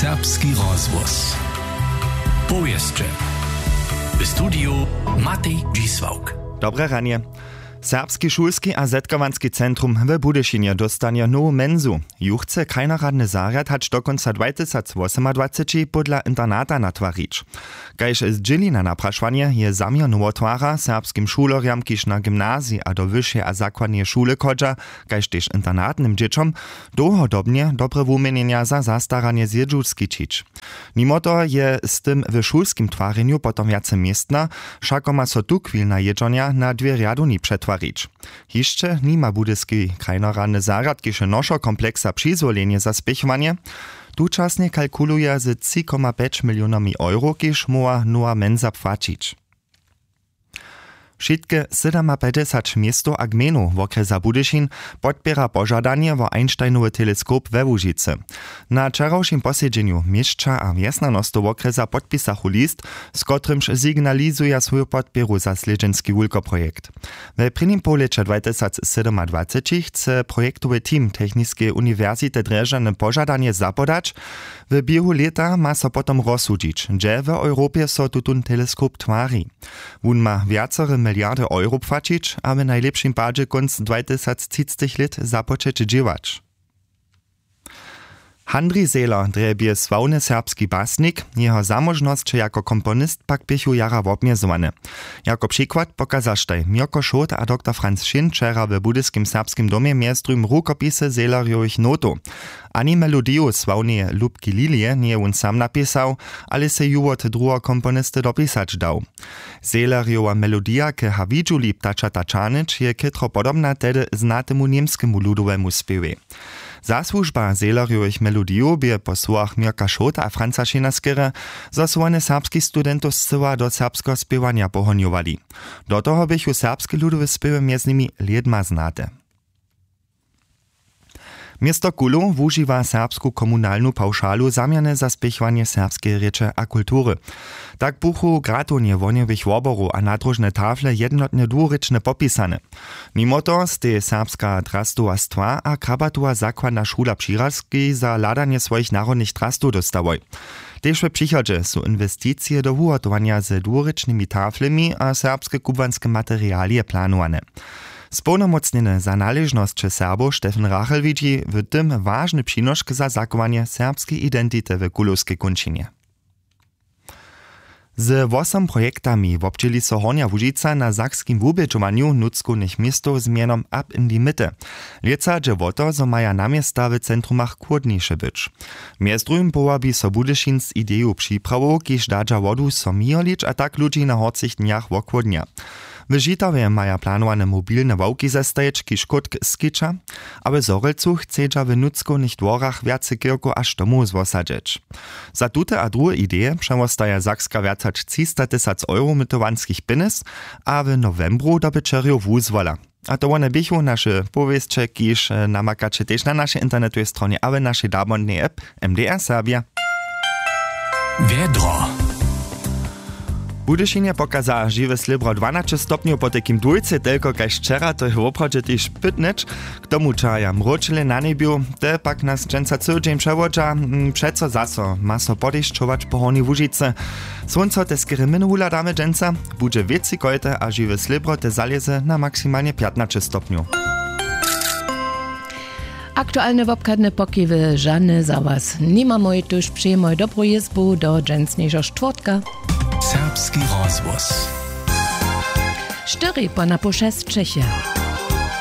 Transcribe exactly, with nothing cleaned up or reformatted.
Serbski rozhłos. Powěsće. W studiju Matej Dźisławk. Dobre ranje. Serbski šulski a zetkawanski centrum w Budyšinje dóstanje nowu mensu. Ju chce krajnoradny zarjad hač do kónca dwajtysacwosomadwaceći pódla internata natwarić. Kaž zdźěli na naprašowanje, je zaměr nowotwara serbskim šulerjam, kiž na gymnazij a do wyšej a zakładneje šule chodźa, kaž tež internatnym dźěćom, dołhodobnje dobre wuměnjenja za zastaranje zjedźu skićić. Nimo toho je z tym w šulskim twarjenju potom wjace městna, wšako ma so tuchwilna jědźornja na dwě rjadowni přetwarić. Hišće nima budyski krajnoradny zarjad kiž nošo kompleksa přizwolenje za spěchowanje. Tučasnje kalkuluja ze tři koma pjeć milionami euro, kiž móhła nowa mensa płaćić. Wšitke sydomapjećdźesać městow a gmejnow wokrjesa Budyšin podpěra požadanje wo Einsteinowy teleskop we Łužicy. Na wčerawšim posedźenju měsća a wjesnjanostow wokrjesa podpisachu list, z kotrymž signalizuja swoju podpěru za slědźenski wulkoprojekt. We prěnim połlěće dwajtysacsydomadwaceći chce projektowy team techniskeje uniwersity drježdźany požadanje zapodać. W běhu lěta ma so potom rozsudźić, hdźe w europje so tutón teleskop twari. Wón ma wjacore miliardy euro płaćić a w najlěpšim padźe kónc dwajtysactřicetych lět započeć dźěłać. Handrij Zehler drje bě sławny serbski basnik, jeho zamóžnosće jako komponist pak běchu jara wobmjezowane. Jako přikład pokazaštaj Měrko Šołt a doktor Franc Šin wčera w budyskim serbskim domje mjez druhim rukopisy Zehlerjowych notow. Ani melodiju sławneje Lubki Lilije njeje wón sam napisał, ale sej ju wot druheho komponisty dopisać dał. Zehlerjowa melodija k Hawidźuli ptačata čahnyć je chětro podobna tehdy znatemu němskemu ludowemu spěwej. Zasłužba Zehlerjowych melodijow bě po słowach Měrka Šołta a Franca Šina skerje, zo su wone serbskich studentow scyła do serbskeho spěwanja pohonjowali. Do toho běchu serbske ludowe spěwy mjez nimi lědma znate. Město Kulow wužiwa serbsku komunalnu pawšalu zaměrnje za spěchowanje serbskeje rěče a kultury. Tak buchu gratownje wohnjowych woborow a nadróžne tafle jednotnje dwurěčnje popisane. Nimo toho stej serbska drastowastwa a krabatowa zakładna šula w Přirazkej za hladanje swojich narodnych drastow dóstałoj. Tež w přichodźe su inwesticije do wuhotowanja ze dwurěčnymi taflemi a serbske kubłanske materialije planowane. Społnomócnjeny za naležnosće Serbow Stefan Rachel widźi w tym wažny přinošk za zachowanje serbskeje identity w kulowskej kónčinje. Ze wosom projektami wobdźěli so Hornja Łužica na sakskim wubědźowanju nutřkownych městow z mjenom Up in the Mitte. Lětsa dźe wo to, zo maja na města w centrumach chłódniše być. Mjez druhim powabi so Budyšin z ideju připrawow, kiž dadźa wodu so měholić a tak ludźi na horcich dnjach wochłódnja. W Žitawje maja planowane mobilne ławki zestajić, kiž chódk skića, a w Zhorjelcu chcedźa w nutřkownych dworach wjace kirkow a štomow zwosadźeć. Za tute a druhe ideje přewostaja Sakska wjac hač třista tysac euro mytowanskich pjenjez a w nowembru dobyćerjow wuzwola. A to wone běchu naše powěsće, kiž namakaće tež na našej internetowej stronje a w našej dabondnej app M D R Serbia. Wjedro. W Budyšinje pokaza žiwe slěbro dwanaće stopnjow, potajkim dwójce telko kaž wčera, to je woprawdźe tež pytnyć. K tomu čahaja mróčele na njebju, te pak nas dźensa cyły dźeń přewodźa. Přeco zaso ma so podešćować po Hornjej Łužicy. Słónco te skerje mjenow wuhladamy dźensa. Budźe wětřikojte a žiwe slěbro te zalěze na maksimalnje pjatnaće stopnjow. Aktualne wobchadne pokiwy žane za was nimamoj, tuž přejemoj dobru jězbu do dźensnišeho štwórtka. Serbski rozhłos. Štyri po napoł šest Čechy.